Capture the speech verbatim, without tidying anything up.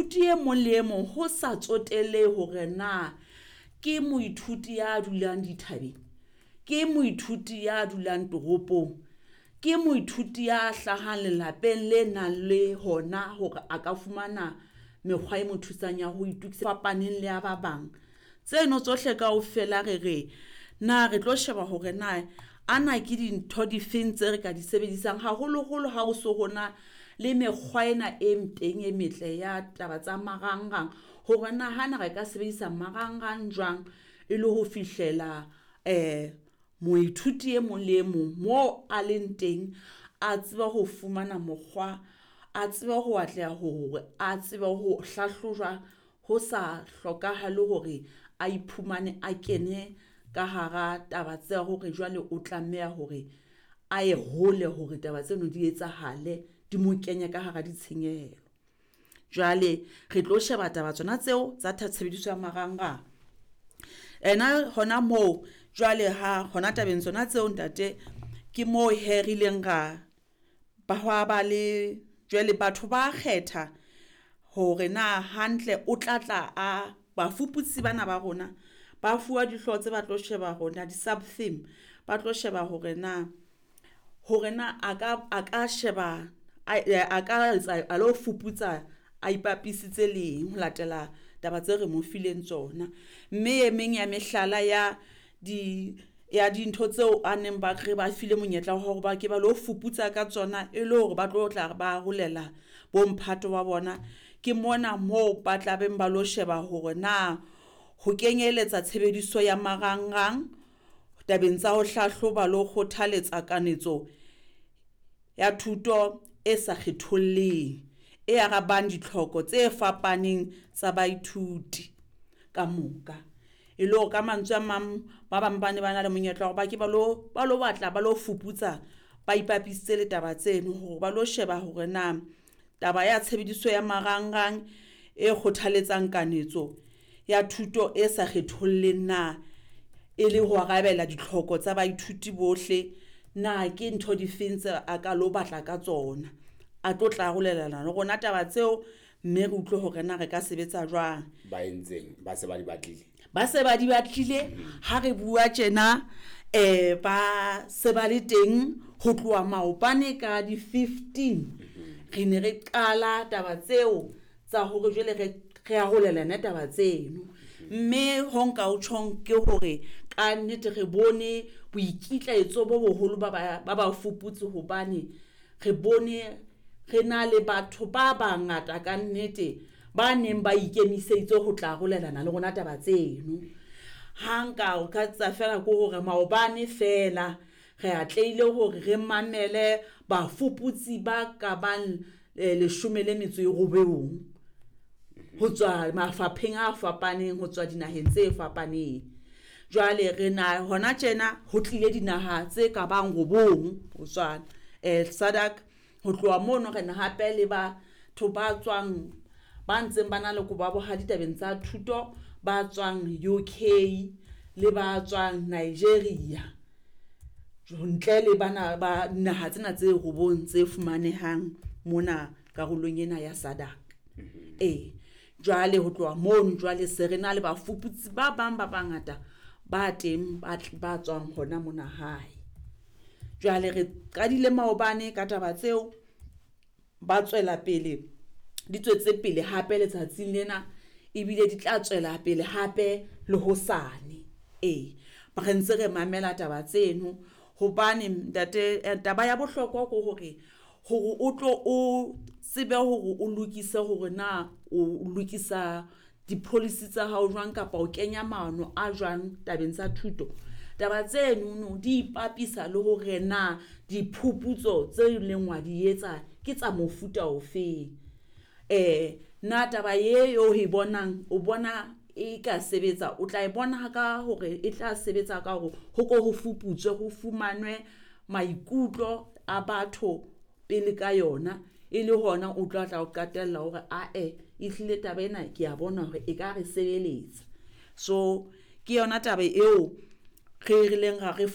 Moithuti e mong le e mong, ho sa tsotelle hore na ke moithuti ya dulang dithabeng, ke moithuti ya dulang toropong, ke moithuti ya hlahang lelapeng le nang le hona hore a ka fumana mekgwa e mo thusang ya ho itokisa fapaneng le ya ba bang. Tseno tsohle kaofela re re na re tlo sheba hore na ana ke dintho difeng tse re ka di sebedisang, haholoholo ha o so ho na le mekgwa ena e teng e metle ya taba tsa marangrang, hore na hana re ka sebedisa marangrang jwang e le ho fihlela moithuti e mong le e mong mo a leng teng, a tsebe ho fumana mokgwa, a tsebe ho atleha hore a tsebe ho hlahlojwa ho sa hlokahale hore a iphumane a kene ka hara taba tsa hore jwale o tlameha hore a ye hole hore taba tseno di etsahale, di mo kenye ka hara ditshenyehelo. Jwale re tlo sheba taba tsona tseo tsa tshebediso ya marangrang. Ena hona moo jwale ha hona tabeng tsona tseo ntate, ke moo hee re ileng ra ba hwa ba le jwale batho ba kgetha hore na hantle o tla tla a bafuputsi bana ba rona ba fuwa dihlooho tse ba tlo sheba rona di-sub theme, ba tlo sheba hore na hore na a ka a ka sheba a a ka etsa a lo fuputsa a ipapisitse le eng ho latela taba tse re mo fileng tsona. Mme e meng ya mehlala ya di ya dintho tseo a neng ba re ba file monyetla wa hore ba ke ba lo fuputsa ka tsona e le hore ba tlo tla ba arolela bo mphato wa bona. Ke mona moo ba tla beng ba lo sheba hore na ho kenyeletsa tshebediso ya marangrang tabeng tsa ho hlahloba le ho kgothaletsa kanetso ya thuto e sa kgetholleng, e arabang ditlhoko tse fapaneng tsa baithuti ka moka. E le hore ka mantswe a mang, ba bang ba ne ba na le monyetla wa hore ba ke ba lo ba lo batla ba lo fuputsa, ba ipapisitse le taba tseno hore ba lo sheba hore na taba ya tshebediso ya marangrang e kgothaletsang kanetso ya thuto e sa kgetholleng na e le ho arabela ditlhoko tsa baithuti bohle, na ke ntho difeng tse a ka lo batla ka tsona. A tlo tla arolelana le rona taba tseo, mme re utlwe hore na re ka sebetsa jwang. Ba entseng ba se ba di batlile? Ba se ba di batlile ha re bua tjena, eh ba se ba le teng ho tloha maobane ka di fifteen. Re ne re qala taba tseo tsa hore jwale re re arolelane taba tseno. Mme ho nka o tjhong ke hore ka nnete re bone boikitlaetso bo boholo ba ba ba bafuputsi hobane re bone re na le batho ba bangata ka nnete ba neng ba ikemiseditse ho tla arolelana le rona taba tseno. Ha nka o ka tsa fela ke hore maobane fela re atlehile hore re mamele bafuputsi ba ka bang leshome le metso e robong ho tswa mafapheng a fapaneng, ho tswa dinaheng tse fapaneng. Jwale re na hona tjena ho tlile dinaha tse ka bang robong ho tswa eh SADC. Ho tloha mono re na hape le batho ba tswang ba ntseng ba na le kobo ya bohadi tabeng tsa thuto, ba tswang U K le ba tswang Nigeria, ntle le bana ba naha tsena tse robong tse fumanehang mona karolong ena ya SADC. E jwale ho tloha mono jwale se re na le bafuputsi ba bang ba bangata ba teng ba ba tswang hona mona hae. Jwale re qadile maobane ka taba tseo, ba tswela pele di tswetse pele hape letsatsing lena, ebile di tla tswela pele hape le hosane. E re ntse re mamela taba tseno hobane ntate taba ya bohlokwa ke hore hore o tlo o tsebe hore o lokise hore na o lokisa di-policy tsa hao jwang kapa o kenya maano a jwang tabeng tsa thuto. Taba tsenono di ipapisa le hore na diphuputso tse leng wa di etsa ke tsa mofuta ofeng. Eh na taba e o e bonang o bona e ka sebetsa, o tla e bona ka hore e tla sebetsa ka hore ho ko ho fuputswe ho fumanwe maikutlo a batho pele ka yona, e le hona o tla tla o qetella hore ae ehlile taba ena ke a bona hore e ka re sebeletsa. So ke yona taba eo re rileng ra re